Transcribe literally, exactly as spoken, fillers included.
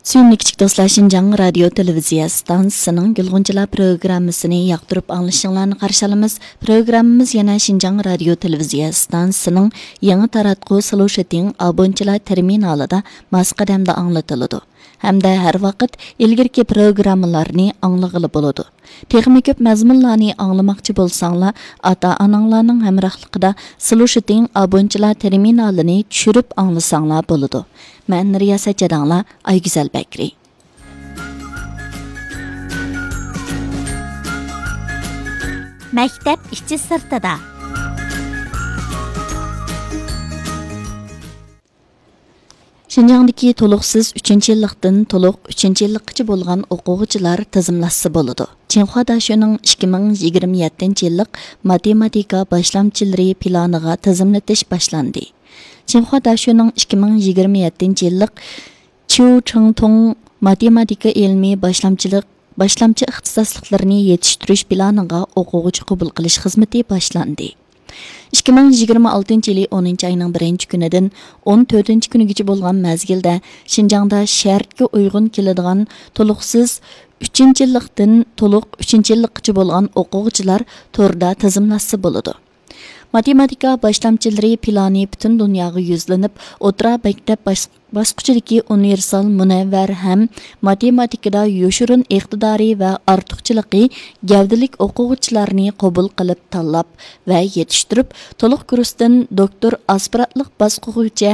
سۆيۈملۈك كىچىك دوستلار، شىنجاڭ رادىيو تېلېۋىزىيە ئىستانسىسىنىڭ گۈلغۇنچىلار پروگراممىسىنى ياقتۇرۇپ ئاڭلىشىڭلارنى قارشى ئالىمىز. پروگراممىمىز يەنە شىنجاڭ رادىيو تېلېۋىزىيە ئىستانسىسىنىڭ يېڭى تاراتقۇ سلۇشىتىڭ ئابونچىلار تېرمىنالىدا ماس قەدەمدە ئاڭلىتىلىدۇ ھەمدە ھەر ۋاقىت ئىلگىرىكى پروگراممىلارنى ئاڭلىغىلى بولىدۇ. تېخىمۇ كۆپ مەزمۇنلارنى ئاڭلىماقچى بولساڭلار، ئاتا-ئاناڭلارنىڭ ھەمراھلىقىدا سلۇشىتىڭ ئابونچىلار تېرمىنالىنى چۈشۈرۈپ ئاڭلىساڭلار بولىدۇ. مەن رىياسەت جاداڭلار، ئايگۈزەل بەكرى. مەكتەپ ئىچى سىرتىدا. شىنجاڭدىكى تولۇقسىز ئۈچىنچى يىللىقتىن تولۇق ئۈچىنچى يىللىققىچە بولغان ئوقۇغۇچىلار تىزىملاتسا بولىدۇ. چىڭخۇا داشۆنىڭ ئىككى مىڭ يىگىرمە يەتتىنچى يىللىق ماتېماتىكا باشلامچىلىرى پىلانىغا تىزىملىتىش باشلاندى. چىڭخۇا داشۆنىڭ ئىككى مىڭ يىگىرمە يەتتىنچى يىللىق چيۇ چىڭتۇڭ ماتېماتىكا ئىلمىي باشلامچىلىق، باشلامچى ئىختىساسلىقلىرىنى يېتىشتۈرۈش پىلانىغا ئوقۇغۇچى قوبۇل قىلىش خىزمىتى باشلاندى. ئىككى مىڭ يىگىرمە ئالتىنچى يىلى ئونىنچى ئاينىڭ بىرىنچى كۈنىدىن ئون تۆتىنچى كۈنىگىچە بولغان مەزگىلدە شىنجاڭدا شەرتكە ئۇيغۇن كېلىدىغان تولۇقسىز ئۈچىنچى يىللىقتىن تولۇق ئۈچىنچى يىللىققىچە بولغان ئوقۇغۇچىلار توردا تىزىملاتسا بولىدۇ. ماتېماتىكا باشلامچىلىرى پىلانى پۈتۈن دۇنياغا يۈزلىنىپ، ئوتتۇرا مەكتەپ باش-، باسقۇچىدىكى ئۇنىۋېرسال، مۇنەۋۋەر ھەم ماتېماتىكىدا يوشۇرۇن ئىقتىدارى ۋە ئارتۇقچىلىقى گەۋدىلىك ئوقۇغۇچىلارنى قوبۇل قىلىپ تاللاپ ۋە يېتىشتۈرۈپ، تولۇق كۇرستىن دوكتور ئاسپىرانتلىق باسقۇچىغىچە